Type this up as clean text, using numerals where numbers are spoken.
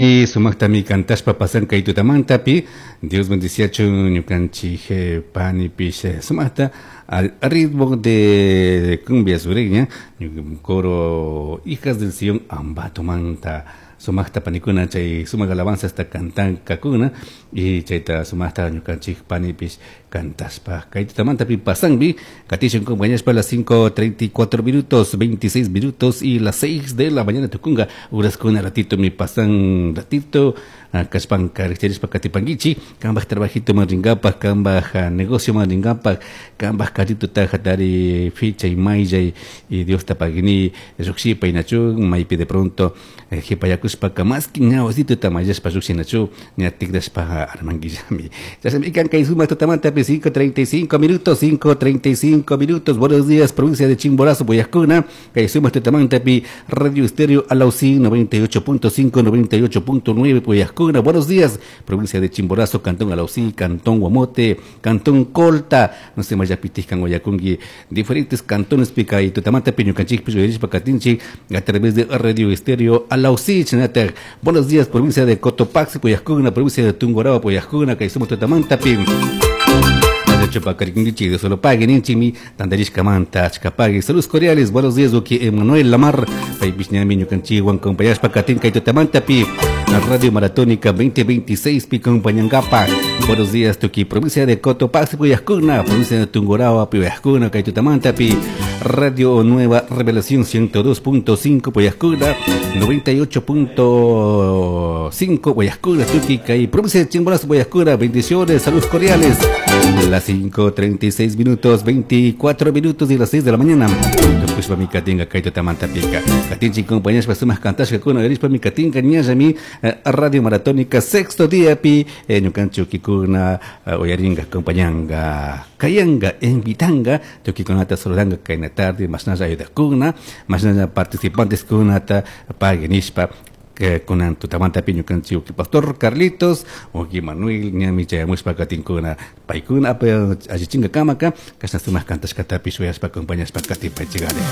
Y sumaqtami kantashpa pasan kay tutamantapi. Dios bendiciachun ñukanchik panipish sumaqta al ritmo de cumbia sureña, coro Hijas del Sion Ambatomanta. Sumaqta panikuna chay sumaq alabanza hasta cantankakuna y chayta sumaqta ñukanchik panipish kantashpa kay tutamantapi pasanbi. Katishun compañashpa las 5:34 minutos, 26 minutos y las 6 de la mañana tukunga uraskuna ratito mi pasan ratito kashpanka rikcharishpa katipankichi kambaj trabajito man rinkapak, kambaj negocio man rinkapak, kambaj carrito hatari fichay mayllay y Dios ta pagini llukshipa inachu maypi de pronto jipayakushpaka maski ña wasituta mayllashpa llukshinachu ña tikrashpa armankillami. Chashnami kan kay sumak tutamantapi 5:35 minutos, 5:35 minutos. Buenos días, provincia de Chimborazo, Boyacuna. Kay sumak tutamantapi Radio Estéreo Alausí 98.5, 98.9 Boyacuna. Buenos días, provincia de Chimborazo, Cantón Alausí, Cantón Guamote, Cantón Colta, no sé, Mayapitiscan, Guayacungui, diferentes cantones pica y tutamantapi ñukanchikpi uyarishpa katinchik a través de Radio Estéreo Alausí, Chinater. Buenos días, provincia de Cotopaxi, Boyacuna, provincia de Tungurahua, Boyacuna, kay sumak tutamantapi. Chupacariquindichi, de solo paguen, inchimi, tandarishkamanta, achkapagui. Saludos cordiales, buenos días, Uki Emanuel Lamar, Paipishñami, ñukanchiwan, compañashpa, katinka y tutamantapi, Radio Maratónica 2026, pi compañangapa. Buenos días, Tuki, provincia de Cotopaxi, Puyascuna, provincia de Tungurahua, Puyascuna, Kaitutamantapi, Radio Nueva Revelación 102.5, Puyascuna, 98.5, Guayascuna, Tuki, Kay, provincia de Chimborazo, Guayascuna, bendiciones, saludos cordiales. Las 5:36 minutos, 24 minutos y las 6 de la mañana. Tukushpa mi katinga kaitutamantapica. Katinchi compañeros, sumas kantashka kuna, yarishpa mi katinga ñallami, Radio Maratónica, sexto día pi, ñukanchi ukikuna, uyaringa, compañanga, kayanga, invitanga, tukikunata saludanga kayna tarde, masnalla ayudakuna, masnalla participantes kunata, paguenishpa, kunan tutamantapi ñukanchik uki pastor Carlitos, uki Manuel, ñami chayamushpa katinkuna, paykuna apa allichinga kamaka, kashna sumak kantashkatapish uyashpa acompañashpa katipaychikari.